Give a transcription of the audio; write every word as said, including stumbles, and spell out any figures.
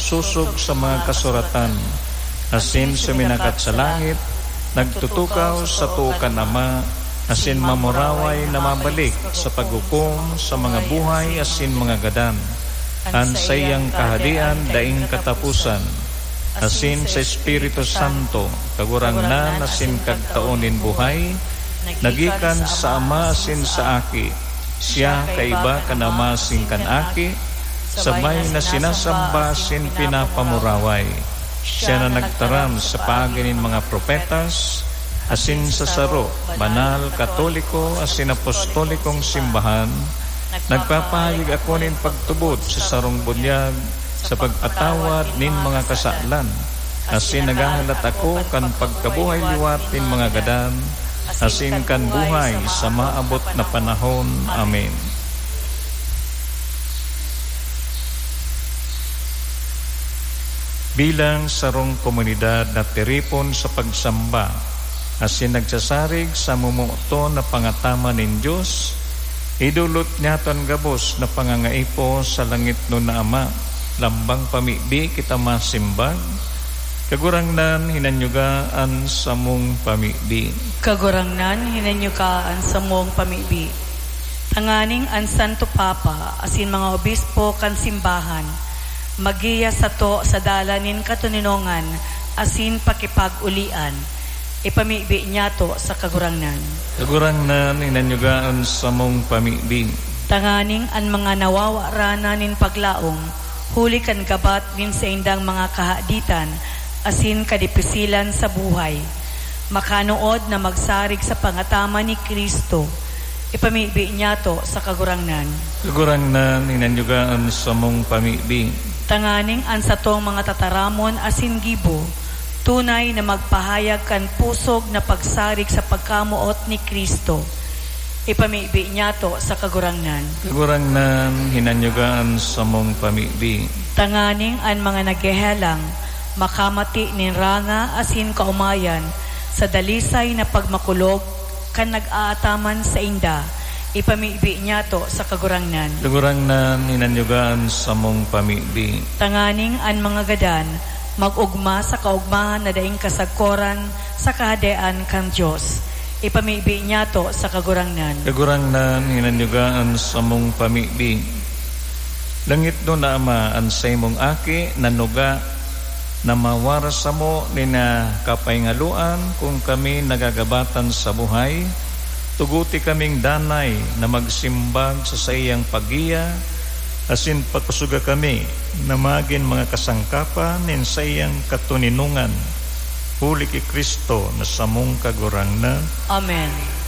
sosog sa mga kasuratan, asin suminakat sa langit, nagtutukaw sa too kan Ama, asin mamuraway na mabalik sa paghukom sa mga buhay asin mga gadan. An saiyang kahadian daing kataposan, asin sa Espiritu Santo, Kagurangnan asin Kagtao nin buhay, nagikan sa Ama asin sa Aki. Siya kaiba kan Ama asin kan Aki, sabay na sinasamba asin pinapamuraway. Siya na nagtaram sa paagi nin mga propetas, asin sa saro, banal, katoliko, asin apostolikong simbahan, nagpapahayag ako nin pagtubod sa sarong bunyag sa pagpatawad nin mga kasalan, asin naghahalat ako kan pagkabuhay liwat nin mga gadan, asin kan buhay sa maabot na panahon. Amen. Bilang sarong komunidad na tiripon sa pagsamba, asin nagsasarig sa momoton na pangataman nin Dios, idolot niyato an gabos na pangangaipo sa langitnon na Ama. Lambang pamibi kita masimbag, Kagurangnan, hinanyuga an samong pamibi. Kagurangnan, hinanyuga an samong pamibi. Tanganing an Santo Papa asin mga obispo kan simbahan maggiya sato sa dalan nin katoninongan asin pakipag-olian. Ipamibi niyato sa Kagurangnan. Kagurangnan, hinanyuga an samong pamibi. Tanganing an mga nawawaranan nin paglaom huli kan gabat nin saindang mga kahaditan asin kadipisilan sa buhay, makanood na magsarig sa pangataman ni Cristo, ipamibi niyato sa Kagurangnan. Kagurangnan, hinanyuga an samong pamibi. Tanganing an satong mga tataramon asin gibo tunay na magpahayag kan pusog na pagsarig sa pagkamoot ni Cristo, ipamibi niyato sa Kagurangnan. Kagurangnan, hinanyuga an samong pamibi. Tanganing an mga naghehelang makamati nin ranga asin kaomayan sa dalisay na pagmakulog kan nag-aataman sainda, ipamibi niyato sa Kagurangnan. Kagurangnan, hinanyuga an samong pamibi. Tanganing an mga gadan mag-ogma sa kaogmahan na daing kasagkoran sa Kahadean kan Dios, ipamibi niyato sa Kagurangnan. Kagurangnan, hinanyuga an samong pamibi. Langitnon na Ama, an saimong Aki nanuga na mawaras samo nin, ah, kapahingaluan kun kami nagagabatan sa buhay. Tuguti kaming danay na magsimbag sa saiyang paggiya, asin pakosoga kami na magin mga kasangkapan nin saiyang katoninongan, huli ki Cristo na samong Kagurangnan. Amen.